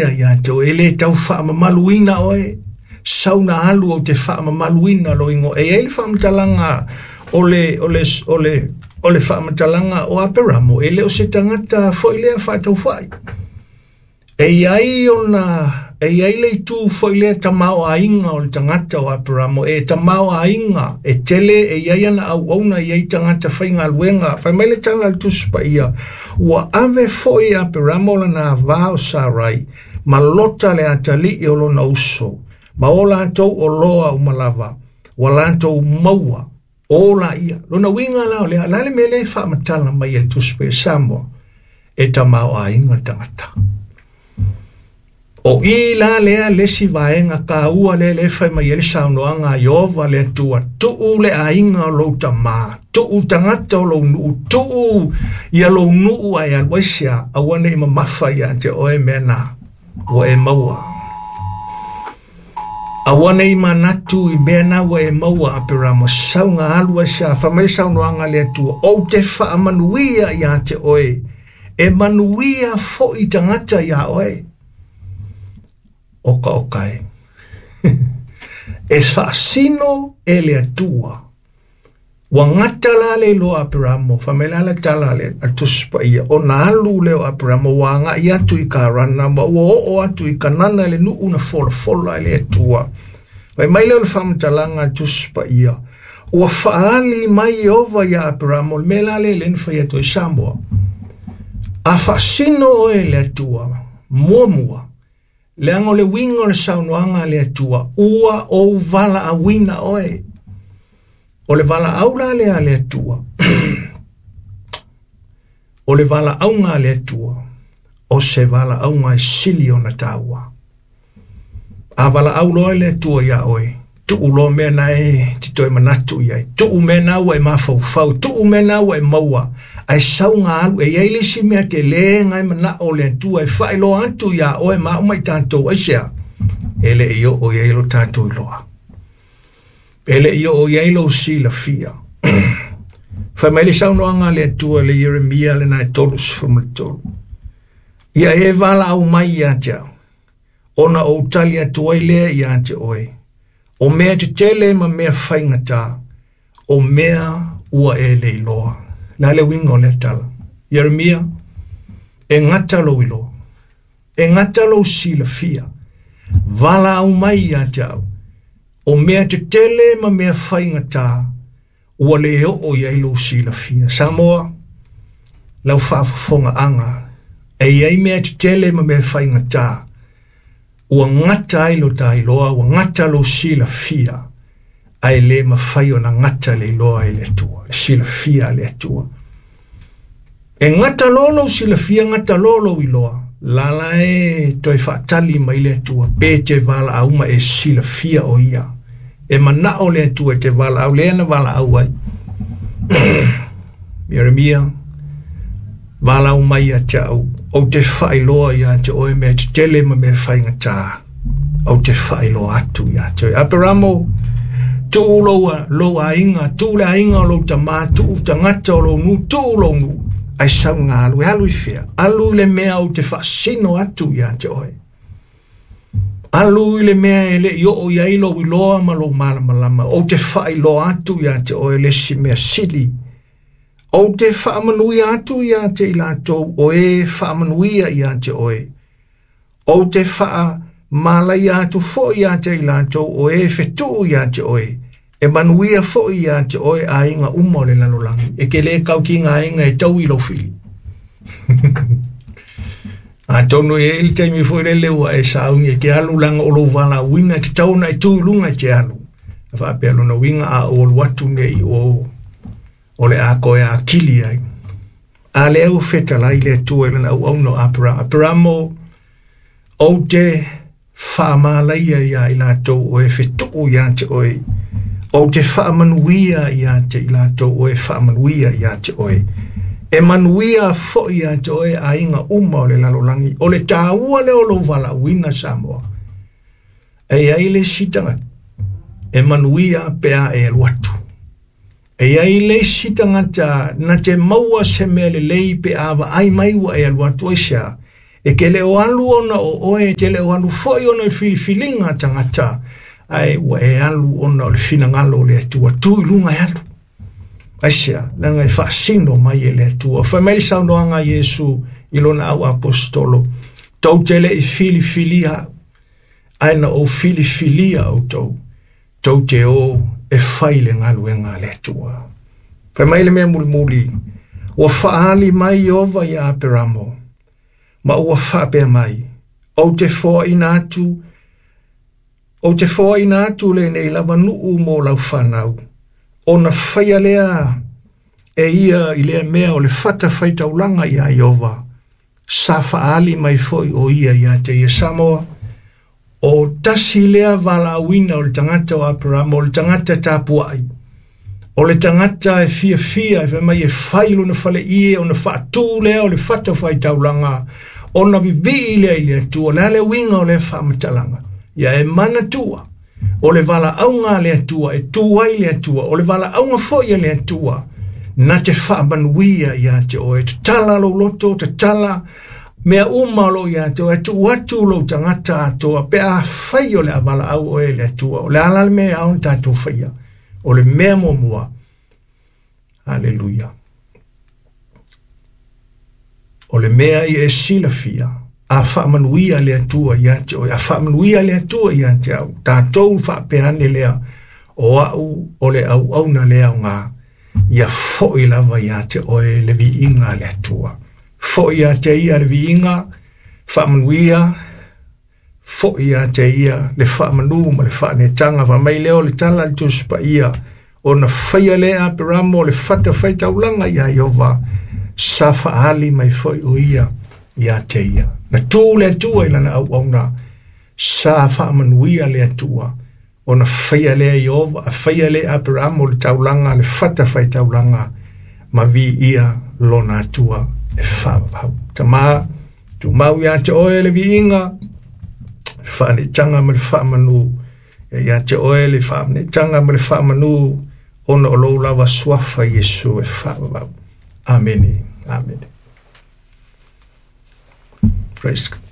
Ia te oe, e le tau faamamaluina oe, sau na alu ou te faamamaluina lou igoa. E i ai le faamatalaga o le, o le, o le, o le faamatalaga o Aperamo, e le o se tagata foi lea faataufai. E i ai ona, e i ai le itu foi lea tamaoaiga o le tagata o Aperamo, e tamaoaiga, e tele, e i ai ana auauna, e i ai tagata faigaluega. Fai mai le tala a le Tusi Paia, ua ave foi e Aperamo lana ava o Sarai, ma Lota le atalii o lona uso, ma o latou oloa uma lava, ua latou maua, o laia. Lona uiga la o lea, la le mea lea e faamatala mai e le Tusi Paia Samoa, e tamaoaiga le tagata. O i la lea le isi vaega taua lea lea e fai mai ai le saunoaga a Ieova le Atua, tuu le aiga o lou tamā, tuu tagata o lou nuu, tuu ia lou nuu ae alu ai sea, aua ne i mamafa ia te oe mea na ua e maua. Aua ne i manatu i mea na ua e maua, Aperamo, sau na alu ai sea, fai mai le saunoaga a le Atua, ou te faamanuia ia te oe, e manuia foi tagata ia oe. Oka oka e. E faasino e le Atua. Ua gata la le iloa Aperamo, fai mai la le tala a le Tusi Paia, ona alu lea o Aperamo ua agai atu i Karana, ma ua oo atu i Kanana i le nuu na folafola e le Atua. Fai mai lea o le faamatalaga a le Tusi Paia, ua faaali mai Ieova ia Aperamo, le mea la lea lea na fai atu ai Samoa. A faasino oe e le Atua, muamua, leaga o le uiga o le saunoaga a le Atua, ua ou valaauina oe. O le valaau la lea a le Atua, o le valaauga a le Atua, o se valaauga e sili ona taua. A valaau loa le Atua ia oe, tuu loa mea na e te toe manatu i ai, tuu mea na ua e mafaufau, tuu mea na ua e maua, ae sau na alu, e i ai le isi mea tele na e manao le Atua e faailoa atu ia oe ma au ma i tatou, aisea? E le i oo i ai lo tatou iloa. E le i oo i ai lou silafia. Fai mai le saunoaga a le Atua i le Ieremia lena e 33. Ia e valaau mai ia te au, ona ou tali atu ai lea ia te oe. O mea tetele ma mea faigata, o mea ua e le iloa. La le uiga o lea tala. Ieremia, e gata lou iloa, e gata lou silafia, valaau mai ia te au, o mea tetele ma mea faigata, ua le oo i ai lou silafia. Samoa, lau faafofogaaga, e i ai mea tetele ma mea faigata, ua gata ai lo ta iloa, ua gata lou silafia, ae le mafai ona gata le iloa e le Atua, le silafia a le Atua. E gata loa lou silafia, gata loa lou iloa, lala e toe faatali mai le Atua, pe te valaau ma e silafia o ia. E manao le Atua e te valaau, lea na valaau ai. Ieremia, valaau mai ia te au, ou te faailoa ia te oe mea tetele ma mea faigata, ou te faailoa atu ia te oe. Aperamo, tuu lou, lou aiga, tuu le aiga o lou tamā, tuu tagata o lou nuu, tuu lou nuu, ae sau na alu, e alu i fea? Alu i le mea ou te faasino atu ia te oe. Alu i le mea e le i oo i ai lou iloa ma lou malamalama, ou te faailoa atu ia te oe le isi mea sili. Ou te faamanuia atu ia te i latou o e faamanuia ia te oe. Ou te faamalaia atu foi ia te i latou o e fetuu ia te oe. E manuia foi ia te oe aiga uma o le lalolagi. E ke le kau ki ngā aiga e tau i lou fili. Atonu e i ai le taimi foi lele ua e sauni e te alu leaga o lou valaauina e tatau ona e tu i luga e te alu. A faapea lona uiga a ou alu atu nei i o, o le a toe akili ai. A lea ua fetalai le Atua i lana auauna o Aperamo. Aperamo, ou te faamalaia ia i latou o e fetuu ia te oe. Ou te faamanuia ia te i latou o e faamanuia ia te oe. E manuia foi ia te oe aiga uma o le lalolagi. O le taua lea o lou valaauina Samoa. E i ai le isi tagata e manuia pe a e alu atu. E i ai le isi tagata na te maua se mea lelei pe a vaai mai ua e alu atu aisea. E te le o alu ona o oe, e te le o alu foi ona i filifiliga a tagata, ae ua e alu ona o le finagalo o le Atua. Tu i luga e alu. Aisea? Leaga e faasino mai e le Atua. Fai mai le saunoaga a Iesu i lona au aposetolo, tou te le i filifilia au, ae na ou filifilia outou, tou te o e fai le galuega a le Atua. Fai mai le mea mulimuli, ua faaali mai Ieova ia Aperamo, ma ua faapea mai, ou te foaina atu, ou te foaina atu lenei lava nuu mo lau fanau, ona faia lea e ia i lea mea o le fatafaitaulaga ia Ieova, sa faaali mai foi o ia ia te ia. Samoa, o tasi lea valaauina o le tagata o Aperamo, o le tagata tapuai, o le tagata e fiafia e fai mai e fai lona faleie ona faatu lea o le fatafaitaulaga, ona vivii lea i le Atua. O le a le uiga o lea faamatalaga? Ia e manatua, o le valaauga a le Atua e tu ai le Atua, o le valaauga foi a le Atua na te faamanuia ia te oe. Tatala lou loto, tatala mea uma o loo ia te oe, tuu atu lou tagata atoa pe a fai o le a valaau oe e le Atua. O le a la le mea e ao ona tatou faia? O le mea muamua, aleluia, o le mea ia e silafia, a faamanuia le Atua ia te oe, a faamanuia le Atua ia te au, tatou faapea ane lea, o au o le auauna le aoga, ia foi lava ia te oe le viiga a le Atua. Foi ia te ia le viiga, faamanuia, foi ia te ia le faamanu ma le faanetaga. Fai mai lea o le tala a le Tusi Paia, ona faia lea e Aperamo le fatafaitaulaga ia Ieova, sa faaali mai foi o ia ia te ia. Na tu le Atua i lana auauna, sa faamanuia le Atua, ona faia lea Ieova, a faia lea e Aperamo le taulaga, le fatafaitaulaga, ma viia lona Atua e faavavau. Tama, tumau ia te oe le viiga, faanetaga ma le faamanu, ia te oe le faanetaga ma le faamanu, ona o lou lava suafa Iesu e faavavau. Amene. Amene. Praise God.